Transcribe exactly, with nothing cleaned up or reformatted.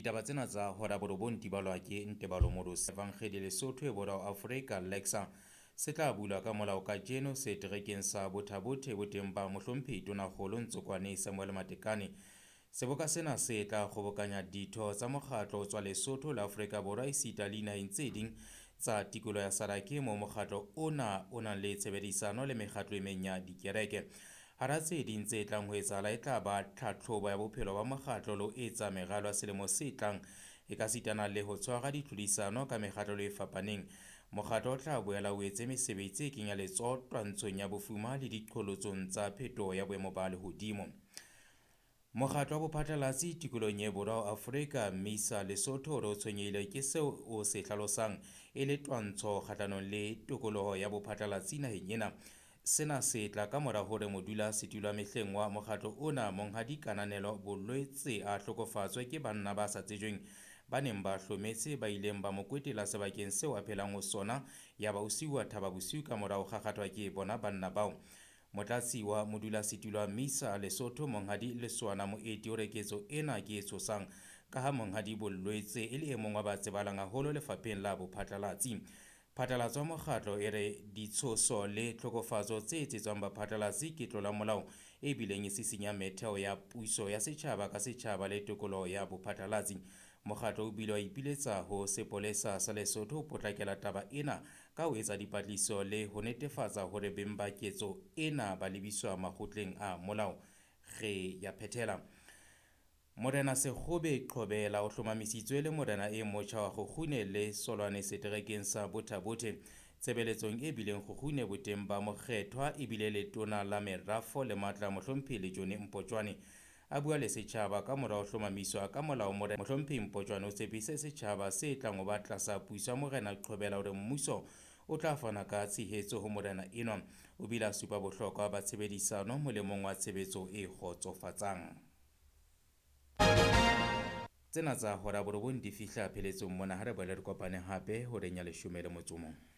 Ditaba tsena tsa hora borobong di balwa ke Ntebalo Moros. Evangeli Lesotho e Borwa Afrika Lexa se tla bulwa ka molao kajeno seterekeng sa Botha-Bothe boteng ba mohlomphehi Tonakgolo Ntsokwane Samuel Matekane. Seboka sena se tla kgobokanya ditho tsa mokgatlo ho tswa Lesotho le Afrika Borwa esita le dinaheng tse ding tsa tikoloho ya Sarake moo mokgatlo ona o nang le tshebedisano le mekgatlo e meng ya dikereke. Hara tse ding tse tlang ho etsahala e tla ba tlhatlhobo ya bophelo ba mokgatlo le ho etsa meralo ya selemo se tlang e ka sitana le ho tshwara ditlhodisano ka mekgatlo e fapaneng. Mokgatlo o tla boela o etse mesebetsi e kenya letsoho twantshong ya bofuma le diqholotsong tsa phetoho ya boemo ba lehodimo. Mokgatlo wa bophatlalatsi tikolohong e borwa ho Afrika MISA Lesotho o re o tshwenyehile ke seo o se hlalosang e le twantsho kgahlanong le tokoloho ya bophatlalatsi naheng ena. Sena se tla ka mora hore modulasetulo wa mehleng wa mokgatlo ona Monghadi Kananelo Bolwetse a hlokofatswe ke banna ba sa tsejweng ba neng ba hlometse ba ileng ba mo kwetela sebakeng seo a phelang ho sona yaba o siuwa Thaba Bosiu ka mora ho kgakgathwa ke bona banna bao. Motlatsi wa modulasetulo wa MISA Lesotho Monghadi Lesoana Moeti o re ketso ena ke e tshosang ka ha Monghadi Bolwetse e le e mong wa ba tsebahalang haholo lefapheng la bophatlalatsi. Phatlalatso ya mokgatlo e re ditshoso le tlhokofatso tse etsetswang baphatlalatsi ke tlola molao e bileng e sisinya metheo ya puso ya setjhaba ka setjhaba le tokoloho ya bophatlalatsi. Mokgatlo o bile wa ipiletsa ho sepolesa sa Lesotho ho potlakela taba ena ka ho etsa dipatlisiso le ho netefatsa hore beng ba ketso ena ba lebiswa makgotleng a molao. Re ya phethela. Morena Sekgobe Qhobela o hlomamisitswe le morena e motjha wa Kgukgune le Solwane seterekeng sa Botha-Bothe. Tshebeletsong e bileng Kgukgune boteng ba mokgethwa ebile letona la merafo le matla mohlomphehi Lejone Mpotjwane. A bua le setjhaba ka mora ho hlomamiswa ka molao morena mohlomphehi Mpotjwane o tshepise setjhaba se tlang ho ba tlasa puso ya morena Qhobela hore mmuso o tla fana ka tshehetso ho morena enwa. O bile a supa bohlokwa ba tshebedisano molemong wa tshebetso e kgotsofatsang. Tsena tsa hora borobong di fihla pheletsong mona ha re boele re kopane hape horeng ya leshome le motso o mong.